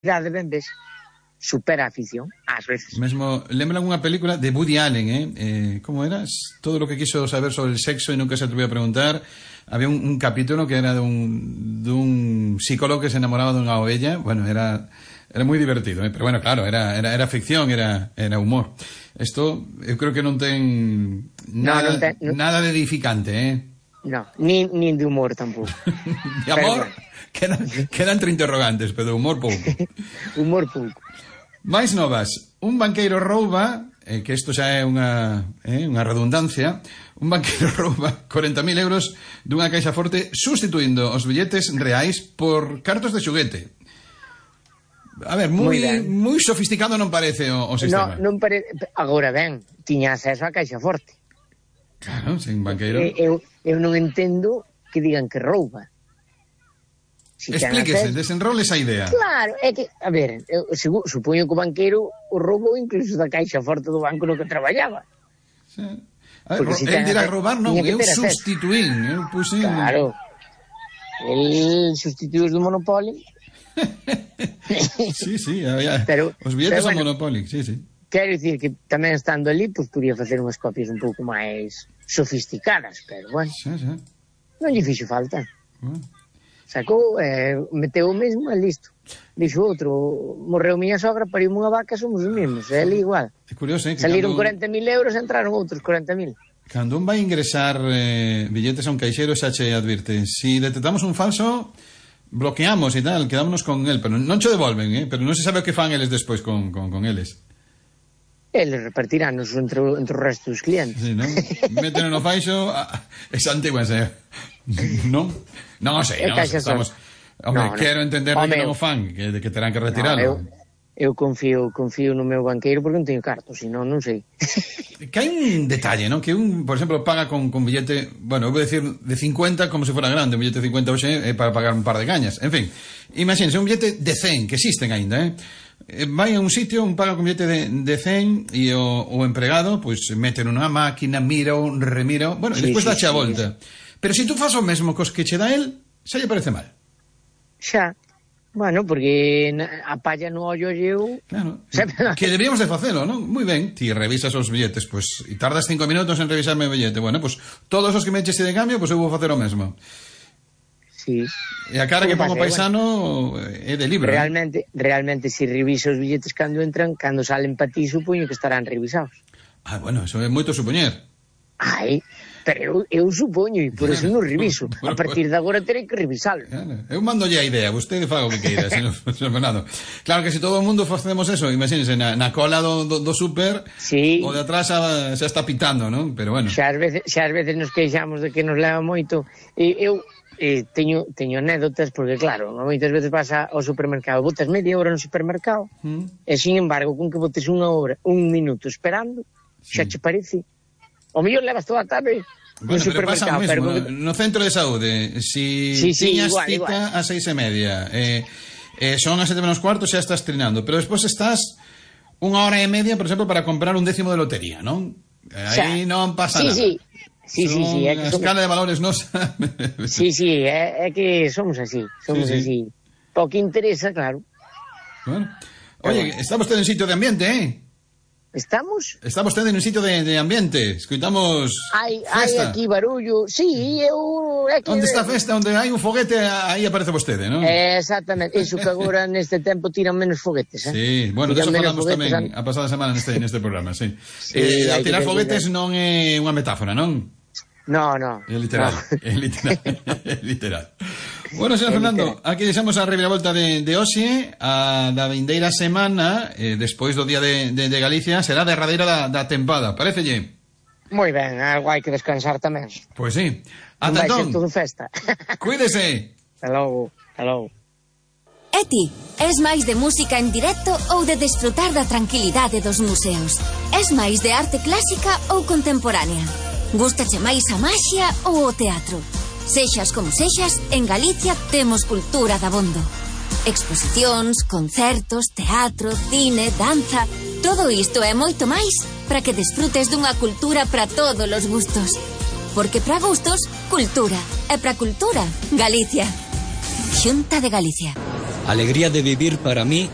ben ves, supera a ficción, ás veces. Mesmo, lembran unha película de Woody Allen, como era? Todo lo que quiso saber sobre el sexo e nunca se atrevió a preguntar. Había un capítulo que era dun psicólogo que se enamoraba dunha ovella. Bueno, era moi divertido, pero bueno, claro, era ficción, era humor. Isto, eu creo que non ten nada de edificante, No, nin de humor tampouco. De amor, quedan entre interrogantes, pero de humor pouco. Humor pouco. Mais novas, un banqueiro rouba, que isto xa é unha redundancia, un banqueiro rouba 40.000 euros dunha caixa forte sustituindo os billetes reais por cartos de xoguete. A ver, moi sofisticado non parece o sistema. Non parece. Agora ben, tiña acceso á caixa forte. Claro, sin banqueiro. Eu non entendo que digan que rouba. Explíquese, desenroles a idea. Claro, é que, a ver, supoño que o banqueiro o roubou incluso da caixa forte do banco no que traballaba. Sí. A ver, el dirá roubar non, eu substituín. Claro, el sustituíu do Monopoly. Sí, pero, os billetes ao Monopoly, sí. Quero dicir que tamén estando ali, pues podía facer unhas copias un pouco máis sofisticadas, pero bueno, non lle fixo falta. Sacou, meteu o mesmo e listo. Dixo outro, morreu miña sogra, pariu unha vaca, somos os mesmos, é ali igual. É curioso, saliron 40.000 euros, entraron outros 40.000. Cando un vai ingresar billetes a un caixero, xa che advirte, si detectamos un falso, bloqueamos e tal, quedámonos con el, pero non che devolven, pero non se sabe o que fan eles despois con eles. Eles repartirános entre o resto dos clientes. Sí, non? Méteno no faixo, esa antigua, non? Non sei, non estamos... Hombre, quero entender que non o fan, que terán que retiralo. Eu confío no meu banqueiro porque non teño carto, senón non sei. Que hai un detalle, non? Que un, por exemplo, paga con billete, bueno, eu vou decir de 50 como se fora grande, un billete de 50 hoxe é para pagar un par de cañas. En fin, imagínense, un billete de 100, que existen aínda, vai a un sitio, un paga con billete de 100 e o empregado, pois mete nunha máquina, mira, remira, bueno, e despois dache a volta. Pero se tú fas o mesmo cos que che dá el, xa lle parece mal. Xa. Bueno, porque a palla no ollo eu... Claro, que deberíamos de facelo, non? Moi ben, ti revisas os billetes, pois, e tardas 5 minutos en revisarme o billete. Bueno, pois, todos os que me eches de cambio, pois eu vou facer o mesmo. Sí. E a cara que pongo paisano é de libro. Realmente, se reviso os billetes cando entran, cando salen pa ti, supoño que estarán revisados. Bueno, eso é moito supoñer. Pero eu supoño, e por eso non reviso. A partir de agora terei que revisalo. Claro. Eu mandolle a idea, vostede faga o que queira, señor Fernando. Claro que se todo o mundo facemos eso, imagínense, na cola do súper, o de atrás xa está pitando, non? Pero bueno. Xa ás veces nos queixamos de que nos leva moito. Eu teño anécdotas, porque claro, moitas veces vas ao supermercado, botas media hora no supermercado, e sin embargo, con que botes unha hora, un minuto esperando, xa che parece. O mellor levas toda a tarde. Bueno, pero pasa o mesmo, no centro de saúde, si tiñas cita a 6:30, son as 7:15, xa estás trinando, pero despois estás 1 hora e media, por exemplo, para comprar un décimo de lotería, non? Aí non pasa nada. Sí, é que a escala de valores nos... Sí, é que somos así, así. O que interesa, claro. Bueno. Oye, está vostede en sitio de ambiente, ¿Estamos? Está vostede nun sitio de ambiente. Escoitamos festa. Hai aquí barullo. Sí, onde está a festa? Onde hai un foguete, aí aparece vostede, non? Exactamente. Iso que agora neste tempo tiran menos foguetes, Sí, bueno, de eso falamos tamén a pasada semana neste programa, sí. A tirar foguetes non é unha metáfora, non? No. É literal. É literal. Bueno, señor Fernando, aquí deixamos a reviravolta de hoxe. A da vindeira semana, despois do Día de Galicia, será derradeira da tempada, parecelle? Moi ben, algo hai que descansar tamén. Pois sí. Ata entón. Vai ser todo festa. Cuídese. Hasta logo. E ti, és máis de música en directo ou de desfrutar da tranquilidade dos museos? És máis de arte clásica ou contemporánea? Gústache máis a maxia ou o teatro? Sexas como sexas, en Galicia temos cultura dabondo. Exposicións, concertos, teatro, cine, danza... Todo isto e moito máis para que desfrutes dunha cultura para todos os gustos. Porque para gustos, cultura. E para cultura, Galicia. Xunta de Galicia. Alegría de vivir para mí